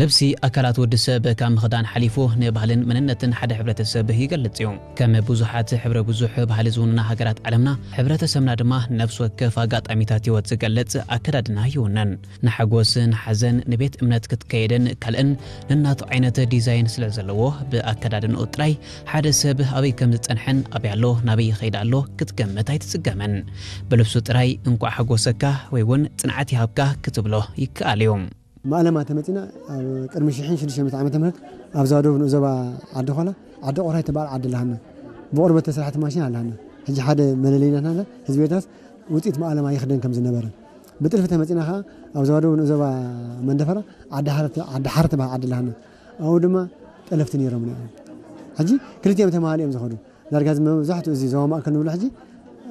ልብሲ ኣካላት ወዲ ሰብ ካብ ምኽዳን ሓሊፉ ንባህልን መንነትን ሓደ ሕብረተሰብ ይገልጽ እዩ። ከም ብዙሓት ሕብረ ብዙሕ ባህሊ ዝውንና ሃገራት ዓለምና፣ ሕብረተሰብና ድማ ነፍሲ ወከፍ ኣጋጣሚታት ህይወት ዝገልጽ ኣከዳድና ይውንን። ንሓጎስ፣ ንሓዘን፣ ንቤት እምነት ክትከይድን ካልእን ነናቱ ዓይነት ዲዛይን ስለ ዘለዎ፣ ብኣከዳድንኡ ጥራይ ሓደ ሰብ ኣበይ ከም ዝጸንሐን ኣበይ ኣሎ ናበይ ይኸይድ ኣሎ ክትገምት ኣይትጽገምን። ብልብሱ ጥራይ እንቋዕ ሓጎሰካ ወይ እውን ጽንዓት ይሃብካ ክትብሎ ይከኣል እዩ። ማእለማ ተመጺና ኣብ ቅድሚ ሽሕን ሽዱሽተ ሚእቲ ዓመተ ምህረት ኣብ ዞባ ደቡብ ንኡስ ዞባ ዓዲ ኾላ ዓዲ ቆራይ ትበሃል ዓዲ ኣለሃና። ብቆርበት ተሰርሐት ማሽን ኣለሃና። ሕጂ ሓደ መለለይና ናትና ህዝቢ ኤርትራስ ውጽኢት ማእለማ ይኽደን ከም ዝነበረ። ብጥልፊ ተመጺና ኸኣ ኣብ ዞባ ደቡብ ንኡስ ዞባ መንደፈራ ዓዲ ሓረ ዓዲ ሓረ ትበሃል ዓዲ ኣለሃና። ኣብኡ ድማ ጠለፍቲ ነይሮም እዮም። ሕጂ ክልቲኦም ተማሃሉ እዮም ዝኸዱ። ዳርጋ እዚ መብዛሕትኡ እዚ ዞባ ማእከል ንብሎ ሕጂ፣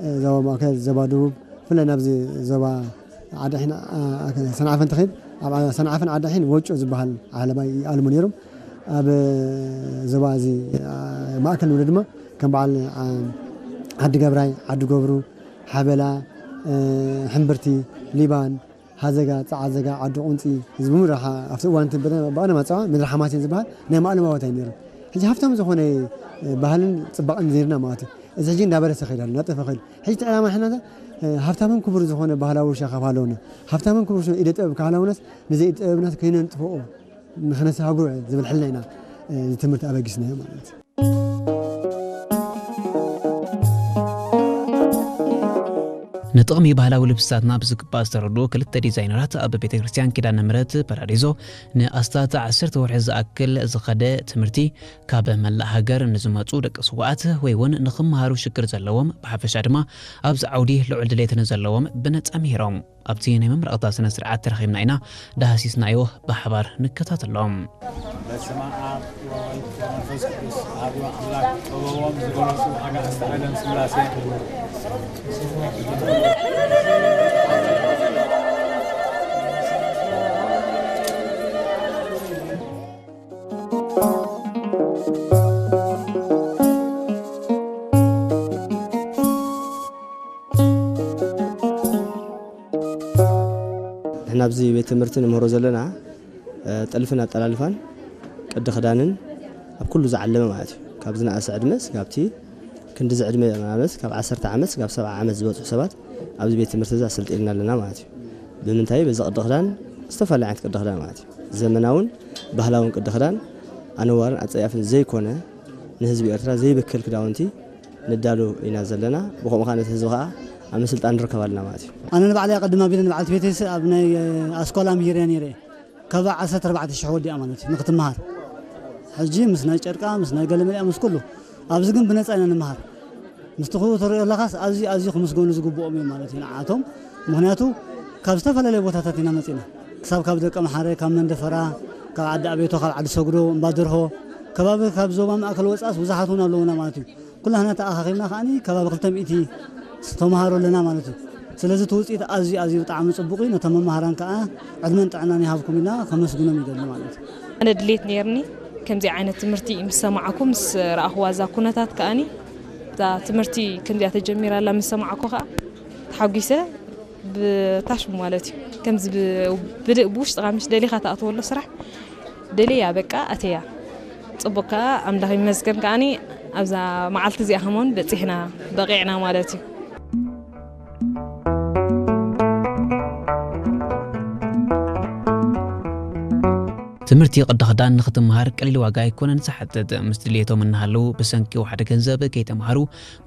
እ፣ ዞባ ማእከል፣ ዞባ ደቡብ፣ ብፍላይ ናብዚ ዞባ ዓዲ ሒን፣ አ፣ አ፣ ሰንዓፈ እንትኸይድ፣ ኣብ ዓ-፣ ሰንዓፈን ዓዲ ሒን ወጮ ዝበሃል ዓለባ ይኣልሙ ነይሮም። ኣብ ዞባ እዚ፣ አ፣ ማእከል ንብሎ ድማ ከም በዓል፣ አ፣ ዓዲ ገብራይ፣ ዓዲ ገብሩ፣ ሓበላ፣ እ፣ ሕምብርቲ፣ ሊባን፣ ሃዘጋ፣ ጸዓዘጋ፣ ዓዲ ቁንጺ፣ እዚ ብምድሪ ሓ-፣ ኣብቲ እዋን እቲ ብደ-፣ ብቐደም ኣጸዋውዓ ምድሪ ሓማሴን ዝበሃል ናይ ማእለማ ቦታ እዩ ነይሩ። ሕጂ ሃብታም ዝኾነ፣ እ፣ ባህልን ጽባቐን ነይርና ማለት እዩ። እዚ ሕጂ እንዳበረሰ ከይዱ ኣሎ፣ እንዳጠፈ ከይዱ። ሕጂ እቲ ዕላማ ሕና፣ እ፣ ሃብታምን ክቡር ዝኾነ ባህላዊ ውርሻ ካብ ሃለውና፣ ሃብታምን ክቡር ዝኾነ ኢደ ጥበብ ካብ ሃለውናስ፣ ነዚ ኢደ ጥበብናስ ከይነንጥፍኦ ንኽነሳግሮ ዝብል ሕልና ኢና፣ እ፣ እዚ ትምህርቲ ኣበጊስናዮ ማለት እዩ። ንጥቕሚ ባህላዊ ልብስታትና ብዝግባእ ዝተረድኡ ክልተ ዲዛይነራት ኣብ ቤተ ክርስቲያን ኪዳነ ምሕረት ፓራዲዞ ንኣስታት ዓሰርተ ወርሒ ዝኣክል ዝኸደ ትምህርቲ ካብ መላእ ሃገር ንዝመጹ ደቂ ስውኣት ወይ እውን ንኽመሃሩ ሽግር ዘለዎም ብሓፈሻ ድማ ኣብዚ ዓውዲ ልዑል ድሌት ንዘለዎም ብነጻ ምሂሮም። ኣብቲ ናይ መመረቕታ ስነ ስርዓት ተረኺብና ኢና ዳህሲስናዮ ብሓባር ንከታተሎም። በስመ አብ ወወልድ ወመንፈስ ቅዱስ አሐዱ አምላክ። ጥበቦም ዝገለጹ አጋዕዝተ ዓለም ሥላሴ። ንሕና ኣብዚ ቤት ትምህርቲ ንምህሮ ዘለና፣ እ፣ ጥልፍን ኣጠላልፋን ቅዲ ክዳንን ኣብ ኩሉ ዝዓለመ ማለት እዩ። ካብ ዝነኣሰ ዕድመ ስጋብ እቲ ክንዲ እዚ ዕድመ ማለት ካብ ዓሰርተ ዓመት ስጋብ ሰብዓ ዓመት ዝበጽሑ ሰባት ኣብዚ ቤት ትምህርቲ እዚ ኣሰልጢንና ኣለና ማለት እዩ። ብምንታይ? በዚ ቅዲ ክዳን፣ ዝተፈላለዩ ዓይነት ቅዲ ክዳን ማለት እዩ። ዘመናውን ባህላውን ቅዲ ክዳን፣ ኣነዋርን ኣጸያፍን ዘይኮነ፣ ንህዝቢ ኤርትራ ዘይብክል ክዳውንቲ ንዳሉ ኢና ዘለና። ብኸምኡ ከኣ ነቲ ህዝቢ ከኣ ኣብ ምስልጣን ንርከብ ኣለና ማለት እዩ። ኣነ ንባዕለይ ኣቐድም ኣቢለ ንበዓልቲ ቤተይስ ኣብ ናይ ኣስኳላ ምሂረያ ነይረ። ካብ ዓሰርተ ኣርባዕተ ሽሕ ወዲኣ ማለት እዩ ንክትመሃር። ሕጂ ምስ ናይ ጨርቃ፣ ምስ ናይ ገለመሊኣ፣ ምስ ኩሉ። ኣብዚ ግን ብነጻ ኢና ንምሃር። ምስቲ ክኡ ትሪኦ ኣለኻስ ኣዝዩ፣ ኣዝዩ ክምስገኑ ዝግብኦም እዮም ማለት እዩ ንዓቶም። ምኽንያቱ ካብ ዝተፈላለየ ቦታታት ኢና መጺና። ክሳብ ካብ ደቀምሓረ፣ ካብ መንደፈራ፣ ካብ ዓዲ ኣቤቶ፣ ካብ ዓዲ ሰግዶ፣ እምባ ደርሆ፣ ከባቢ ካብ ዞባ ማእከል ወጻእስ ብዙሓት እውን ኣለዉና ማለት እዩ። ኩላህና ተኣኻኺብና ከኣኒ ከባቢ ክልተ ሚእቲ ተምሃሮ ኣለና ማለት እዩ። ስለዚ እቲ ውፅኢት ኣዝዩ፣ ኣዝዩ ብጣዕሚ ጽቡቕ እዩ። ነቶም መማህራን ከኣ ዕድመን ጥዕናን ይሃብኩም ኢልና ከመስግኖም ይደሊ ማለት እዩ። ኣነ ድሌት ነይርኒ ከምዚ ዓይነት ትምህርቲ ምስ ሰማዕኩ፣ ምስ ረኣኽዋ እዛ ኩነታት ከኣኒ፣ እዛ ትምህርቲ ከምዚኣ ተጀሚራ ኣላ ምስ ሰማዕኩ ከኣ ተሓጒሰ ብታሽሙ ማለት እዩ። ከምዚ ብ-፣ ብድ-፣ ብውሽጥኻ ምሽ ደሊኻ ትኣትወሉ ስራሕ ደልያ በቃ ኣተያ። ጽቡቕ ከኣ ኣምላኽ ይመስገን ከኣኒ ኣብዛ መዓልቲ እዚኣ ከማን በጺሕና በቒዕና ማለት እዩ። ትምህርቲ ቅዲ ክዳን ንኽትመሃር ቀሊል ዋጋ ኣይኮነን ዝሓትት። ምስ ድልየቶም እናሃለዉ ብሰንኪ ዋሕዲ ገንዘብ ከይተምሃሩ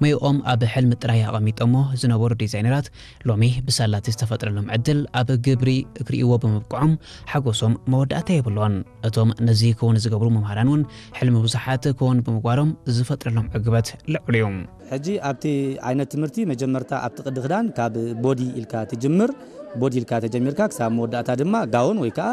መይኦም ኣብ ሕልሚ ጥራይ ኣቐሚጦሞ ዝነበሩ ዲዛይነራት ሎሚ ብሳላ እቲ ዝተፈጥረሎም ዕድል ኣብ ግብሪ ክርእይዎ ብምብቅዖም ሓጎሶም መወዳእታ የብሉን። እቶም ነዚ ክውን ዝገብሩ መምሃራን እውን ሕልሚ ብዙሓት ክውን ብምግባሮም ዝፈጥረሎም ዕግበት ልዑል እዩ። ሕጂ ኣብቲ ዓይነት ትምህርቲ መጀመርታ ኣብቲ ቅዲ ክዳን ካብ ቦዲ ኢልካ ትጅምር። ቦዲ ኢልካ ተጀሚርካ ክሳብ መወዳእታ ድማ ጋውን ወይ ከዓ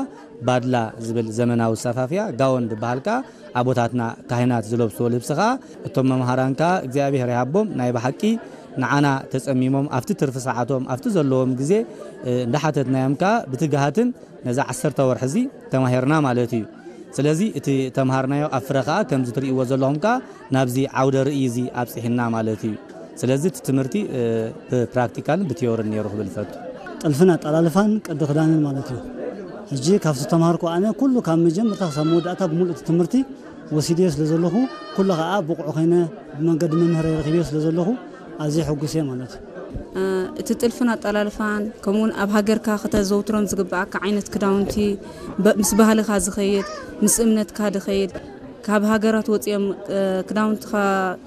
ባድላ ዝብል ዘመናዊ ሰፋፍያ ጋውን ዝበሃል ከዓ ኣቦታትና ካህናት ዝለብስዎ ልብሲ ከዓ እቶም መምሃራን ከዓ እግዚኣብሔር ይሃቦም ናይ ብሓቂ ንዓና ተጸሚሞም ኣብቲ ትርፊ ሰዓቶም ኣብቲ ዘለዎም ግዜ፣ እ፣ እንዳሓተትናዮም ከዓ ብትግሃትን ነዛ ዓሰርተ ወርሒ እዚ ተማሂርና ማለት እዩ። ስለዚ እቲ ተምሃርናዮ ኣብ ፍረ ከኣ ከምዚ ትርእይዎ ዘለኹም ከኣ ናብዚ ዓውደ ርእይ እዚ ኣብጺሕና ማለት እዩ። ስለዚ እቲ ትምህርቲ፣ እ፣ ብፕራክቲካልን ብቲዮርን ነይሩ ክብል እፈቱ። ጥልፍን ኣጠላልፋን ቅዲ ክዳንን ማለት እዩ። ሕጂ ካብቲ ተምሃርኩ ኣነ ኩሉ ካብ መጀመርታ ክሳብ መወዳእታ ብምሉእ እቲ ትምህርቲ ወሲድዮ ስለ ዘለኹ፣ ኩሉ ኸኣ ብቑዕ ኮይነ ብመንገዲ መምህረይ ረኺብዮ ስለ ዘለኹ ኣዝየ ሕጉስ እየ ማለት እዩ። እቲ ጥልፍን ኣጠላልፋን ከምኡውን ኣብ ሃገርካ ከተዘውትሮም ዝግብኣካ ዓይነት ክዳውንቲ፣ በ- ምስ ባህልኻ ዝኸይድ፣ ምስ እምነትካ ዝኸይድ፣ ካብ ሃገራት ወፂኦም ክዳውንትኻ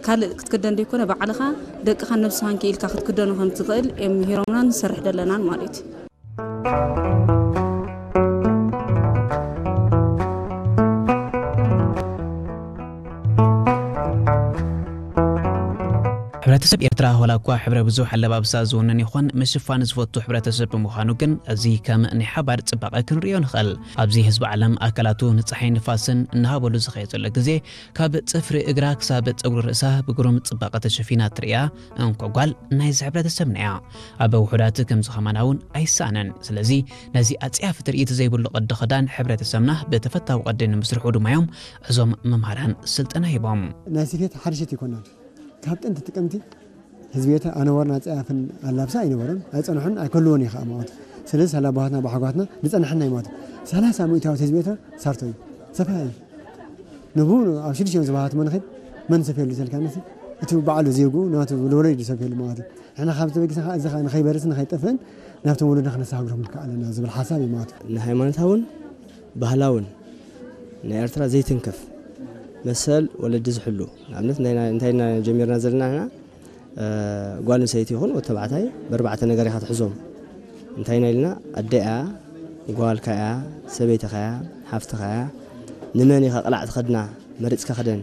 ካልእ ክትክደን ዘይኮነ ባዕልኻ ደቅኻን ነብስኻን ክኢልካ ክትክደኖ ከም ትኽእል እዮም ምሂሮምናን ንሰርሕ ደለናን ማለት እዩ። ሕብረተሰብ ኤርትራ ዋላ እኳ ሕብረ ብዙሕ ኣለባብሳ ዝውንን ይኹን ምሽፋን ዝፈቱ ሕብረተሰብ ብምዃኑ ግን፣ እዚ ከም ናይ ሓባር ጽባቐ ክንርእዮ ንኽእል። ኣብዚ ህዝቢ ዓለም ኣካላቱ ንጸሓይ ንፋስን እናሃበሉ ዝኸየ ዘሎ ግዜ፣ ካብ ጽፍሪ እግራ ክሳብ ጸጉሪ ርእሳ ብግሩም ጽባቐ ተሸፊና ትርእያ እንኮ ጓል ናይዚ ሕብረተሰብና እያ። ኣብ ውሑዳት ከምዚ ከማና እውን ኣይሰኣንን። ስለዚ ነዚ ኣጽያፊ ትርኢት ዘይብሉ ቅዲ ክዳን ሕብረተሰብና ብተፈታዊ ቅዲ ንምስርሑ ድማ እዮም እዞም መምሃራን ስልጠና ሂቦም። ናይ ስፌት ሓድሽት ይኮናል። ካብ ጥንቲ ጥቅምቲ ህዝቢ ኤርትራ ኣነወርን ኣጸያፍን ኣላብሳ ኣይነበሮን ኣይጸንሑን ኣይከልዎን እዩ ከዓ ማለት። ስለዚ ሳላ ኣቦሃትና ብሓጓትና ዝጸንሐና እዩ ማለት። ሰላሳ ሚእታዊት ህዝቢ ኤርትራ ሳርቶ እዩ። ሰፋ እዩ። ንቡ ኣብ ሽዱሽተ እዮም ዝባሃት መን ኸይድ መን ሰፍየሉ ተልካ ነሲ እቲ በዓሉ ዜጉ ናቱ ለወለድ እዩ ዝሰፍየሉ ማለት እዩ። ንሕና ካብ ተበጊስና ከዓ እዚ ከዓ ንኸይበርስን ንኸይጠፍእን ናብቶም ወለድና ክነሰጋግሮም ንክእል ኣለና ዝብል ሓሳብ እዩ ማለት እዩ። ንሃይማኖታውን ባህላውን ናይ ኤርትራ ዘይትንከፍ መሰል ወለዲ ዝሕሉ ንኣብነት እንታይ ኢና ጀሚርና ዘለና ንሕና ጓል ኣንሰይቲ ይኹን ወዲ ተባዕታይ ብኣርባዕተ ነገር ኢኻ ትሕዞም እንታይ ኢና ኢልና ኣደ እያ ጓልካ እያ ሰበይትኻ እያ ሓፍትኻ እያ ንመን ኢኻ ቅላዕ ትኸድና መሪፅካ ክደን